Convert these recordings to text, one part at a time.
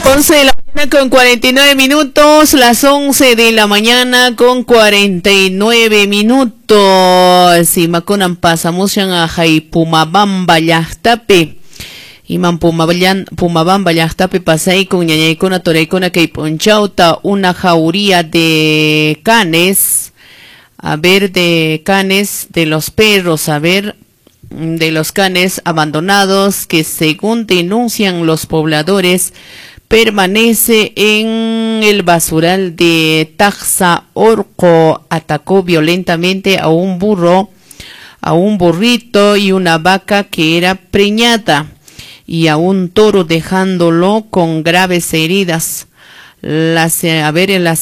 11 de la mañana con 49 minutos, las 11 de la mañana con 49 minutos. Imakunan pasamushan ahay Pumabamba llaqtapi. Iman Pumabamba llaqtapi pasaykun ñañaykuna turaykuna kay p'unchawta una jauría de canes, a ver, de canes, de los perros, a ver, de los canes abandonados que según denuncian los pobladores permanece en el basural de Taxa Orco. Atacó violentamente a un burro, a un burrito y una vaca que era preñada y a un toro, dejándolo con graves heridas. Las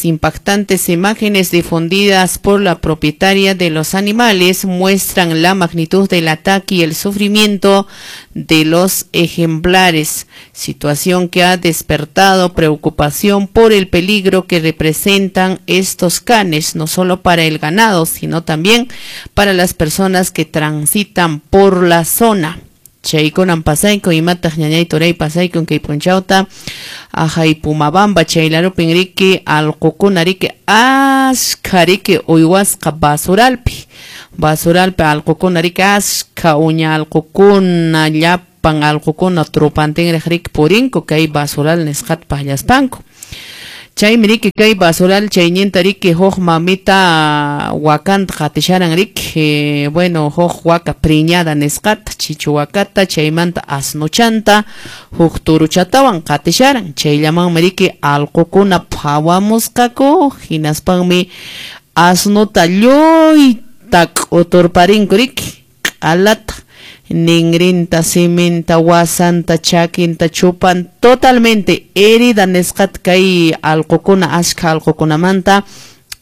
impactantes imágenes difundidas por la propietaria de los animales muestran la magnitud del ataque y el sufrimiento de los ejemplares, situación que ha despertado preocupación por el peligro que representan estos canes, no solo para el ganado, sino también para las personas que transitan por la zona. Chaykunan pasayku imataq ñañay turay pasayku kay p'unchawta ahay Pumabamba chaylarupin riki allqukuna riki ashkha riki uywasqa basuralpi, basuralpi allqukuna riki ashkha uña allqukuna llapan allqukuna trupantinraq riki purinku kay basural nisqata pallaspanku. Chaymi riki kay basural chayninta riki huk mamita wakanta qatisharan riki, bueno, huk waka preñada nisqata, chichu wakata, chaymanta asnuchanta, huk turuchatawan qatisharan. Chayllamanmi riki allqukuna phawamusqaku, hinaspanmi asnuta lluyta k'uturparinku riki, q'alata, ningrinta, siminta, wasanta, chakinta, chupan, totalmente herida nisqata kay allqukuna, ashkha allqukunamanta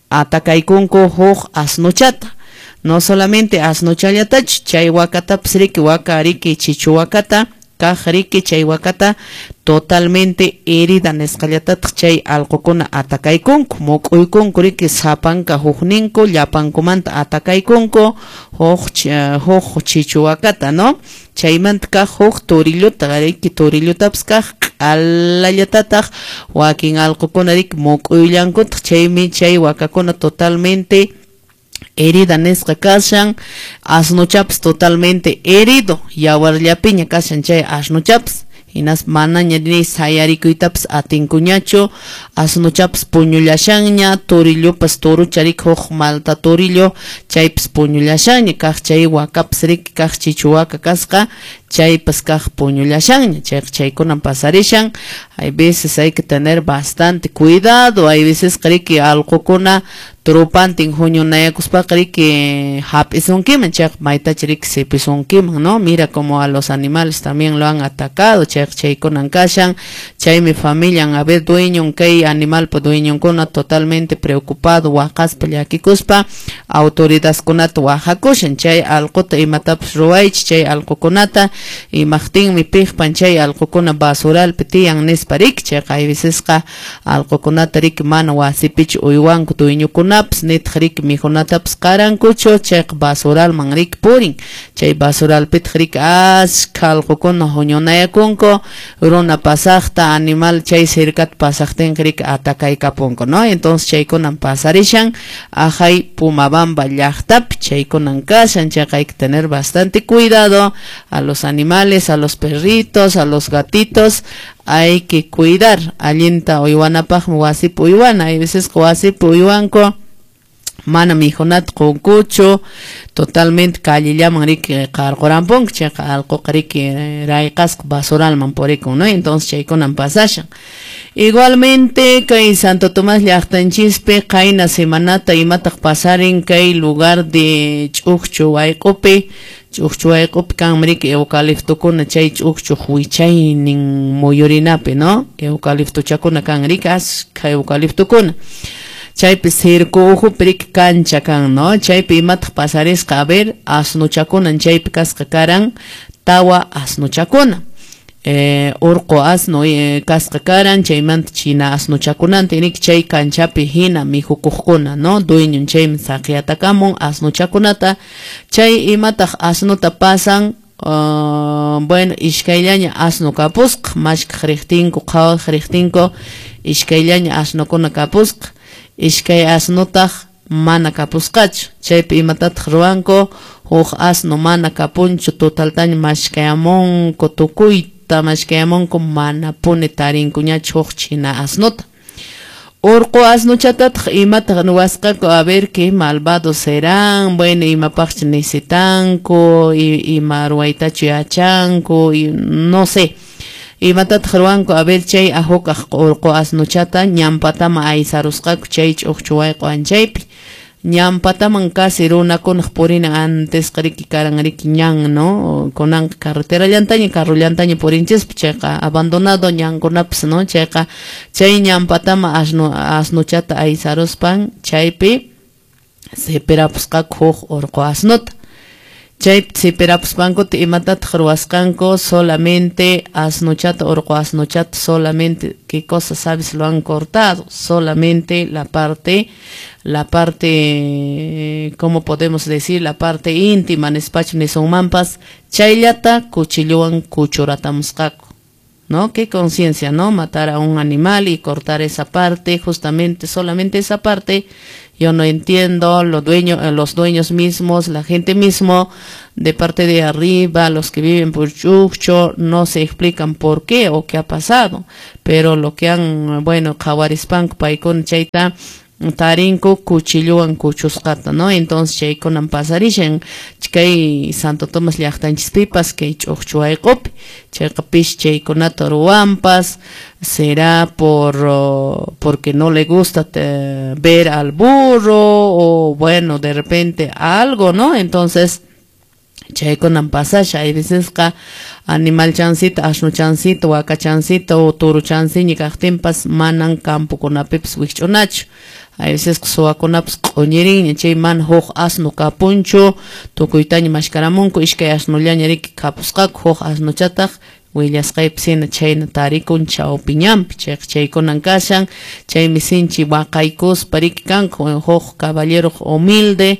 atakaykunku huk asnuchata. No solamente asnuchallatachu, chay wakatapas riki, waka riki, chichu wakata, kaq riki, chay wakata totalmente herida nisqallatataq chay allqukuna atakaykunku, muk'uykunku riki sapanka hukninku, llapankumanta atakaykunku huk chichu wakata, ¿no? Chaymanta kaq huk torillota, riki torillotapis kaq q'alallatataq wakin allqukuna riki muk'uyllankutaq, chaymi chay wakakuna totalmente herida nisqa kashan, asnuchapas totalmente herido, yawarllapiña kashan chay asnuchapas, hinas manaña ni sayarikuytapas atinkuñachu, asnuchapas puñullashanña, torillopas torucha riki huk malta torillo, chaypas puñullashanña, kaq chay wakapas riki kaq chichu waka kasqa, chaypas kaq puñullashanña, chayqa chaykunan pasarishan. Hay veces hay que tener bastante cuidado, hay veces riki allqukuna trupantin huñunayakuspaqa riki hap'isunkiman, chayqa maytacha riki sipisunkiman, ¿no? Mira como a los animales también lo han atacado, chayqa chaykunan kashan, chaymi familian, a ver, dueñon kay animalpa dueñonkuna totalmente preocupado, waqaspa llakikuspa autoridadkunata wahakushan, chay allquta imatapas ruwaychik, chay allqukunata imaqtinmi piqpan chay allqukuna basuralpi tiyan nispa riki, chayqa hay vecesqa allqukunata riki mana wasipichu uywanku dueñokunapas, nitaq riki mikhunatapas qarankuchu, chayqa basuralman riki purin, chay basuralpitaq riki ashkha allqukuna huñunayakunku, runa pasaqta animal chay cercata pasaqtinqa riki atakaykapunku, ¿no? Entonces chaykunan pasarishan ahay Pumabamba llaqtapi, chaykunan kashan, chayqa hay que tener bastante cuidado a los animales, a los perritos, a los gatitos, hay que cuidar. Allinta uywanapaqmi wasipi uywana, hay veces wasipi uywanku mana mikhunata qunkuchu, totalmente callellaman riki qarqurampunku, chayqa allquqa riki rayqasqa basuralman purikun, ¿no? Entonces chaykunan pasashan. Igualmente kay Santo Tomás llaqtanchispi qayna semanata imataq pasarin kay lugar de Ch'uqchu wayq'upi, Ch'uqchu wayq'upi kanmi riki eucaliptokuna chay ch'uqchuq wichaynin muyurinapi, ¿no? Eucaliptochakuna kan riki ashkha eucaliptokuna. Chaypi circo uhupi riki kancha kan, ¿no? Chaypi imataq pasarisqa, a ver, asnuchakunan chaypi kasqa karan tawa asnuchakuna. Urqu asno kasqa karan, chaymanta china asnuchakunanta riki chay kanchapi hina mikhukuqkuna, ¿no? Dueñon chaymi saqiyatakamun asnuchakunata, chay imataq asnuta pasan, Bueno, ishkayllaña asno kapusqa, mashkaq riqtinku, qhawaq riqtinku, ishkayllaña asnukuna kapusqa, ishkay asnutaq mana kapusqachu. Chaypi imatataq ruwanku? Huk asno mana kapunchu, totaltaña mashkayamunku, tukuyta mashkayamunku, manapuni tarinkuñachu huk china asnuta. Urqu asnuchatataq imataq ruwasqaku? A ver qué malvados serán, bueno, imapaqchu necesitanku, ima ruwaytachu yachanku, no sé. Imatataq ruwanku? A ver chay ahukaq urqu asnuchata ñampatama aysarusqaku chay ch'uqchu wayq'u anchaypi. Ñampataman casi runakunaq purina antes riki karan riki ñan, ¿no? Kunanqa carreterallantaña, carrollantaña purinchispa, chayqa abandonado ñankunapas, ¿no? Chayqa chay ñampatama asnuchata aysaruspan chaypi sipirapusqaku huk urqu asnuta. Chay sipirapuspankuta imatataq ruwasqanku? Solamente asnuchata, urqu asnuchata, solamente, ¿qué cosa sabes? Lo han cortado, solamente la parte, ¿cómo podemos decir? La parte íntima, nispachu nisunmanpas, chayllata cuchillowan kuchuratamusqaku, ¿no? Qué conciencia, ¿no? Matar a un animal y cortar esa parte, justamente, solamente esa parte. Yo no entiendo, los dueños mismos, la gente mismo, de parte de arriba, los que viven por Chukcho, no se explican por qué o qué ha pasado. Pero lo que han, bueno, qhawarispanku paykuna chayta tarinku cuchillowan kuchusqata, ¿no? Entonces chaykunan pasarishan kay Santo Tomás llaqtanchispipas, kay Ch'uqchu wayq'upi, chayqa pis chaykunata ruwanpas, será porque no le gusta ver al burro o bueno, de repente algo, ¿no? Entonces chaykunan pasasha, hay vecesqa animal chancita, asno chancita, waka chancita o toro chanciña kaqtinpas manan campokunapipas wikch'unachu. Hay veces suwakunapas q'uñirinña, chay mana huk asno kapunchu, tukuytaña mashkaramunku, ishkay asnullaña riki kapusqaku, huk asnuchataq willasqaypi sina chayna tarikun chawpi ñanpi, chayqa chaykunan kashan, chaymi sinchi waqaykuspa riki kanku, huk caballero humilde,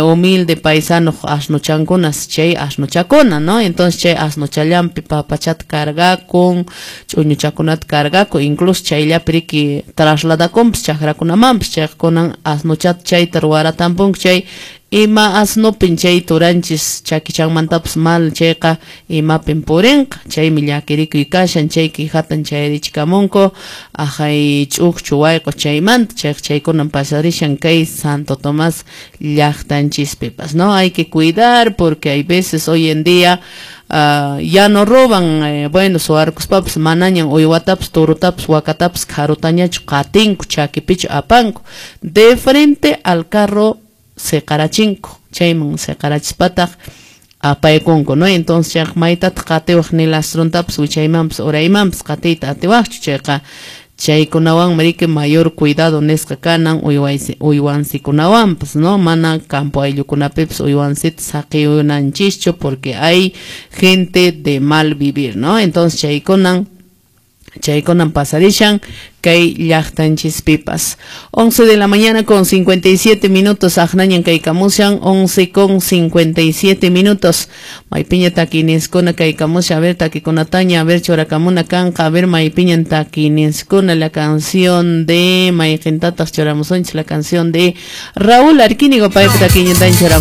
humilde paisano asnuchankunas, chay asnuchakuna, ¿no? Entonces chay asnuchallanpi papachata cargakun, ch'uñuchakunata cargakun, incluso chayllapi riki trasladakunpas chakrakunamanpas, chayqa kunan asnuchata chayta ruwaratampunku, chay ima asnupin chay turanchis chakichanmantapas mal chayqa imapin purinqa, chaymi llakirikuy kashan, chay quijatan chayarichikamunku ajay ch'uqchu wayq'u chaymanta, chayqa chaykunan pasarishan kay Santo Tomás llaqtanchispipas, ¿no? Hay que cuidar porque hay veces hoy en día ya no roban, bueno, suwarkuspapas manañan uywatapas, turutapas, wakatapas kharutañachu qatinku, chakipichu apanku, de frente al carro seqarachinku, chayman seqarachispataq apaykunku, ¿no? Entonces chayqa maytataq qatiwaq ni lastrontapas wichaymanpas uraymanpas qatiyta atiwaqchu, chayqa chaykunawanmi riki mayor cuidado nisqa kanan uywansikunawanpas, ¿no? Mana campo ayllukunapipas uywansita saqiyunanchischu porque hay gente de mal vivir, ¿no? Entonces chaykunan pasarishan kay llaqtanchispipas. 11 de la mañana con 57 minutos, aqnañan kaykamushan, 11 con 57 minutos. Maypiña takineskuna kaykamushan, a ver takikunataña, a ver churakamuna kanqa, a ver maypiñan takineskuna, la canción de mayqintataq churamusunchis, la canción de Raúl Arquínigo, paypa takiñantaña churamusunchis.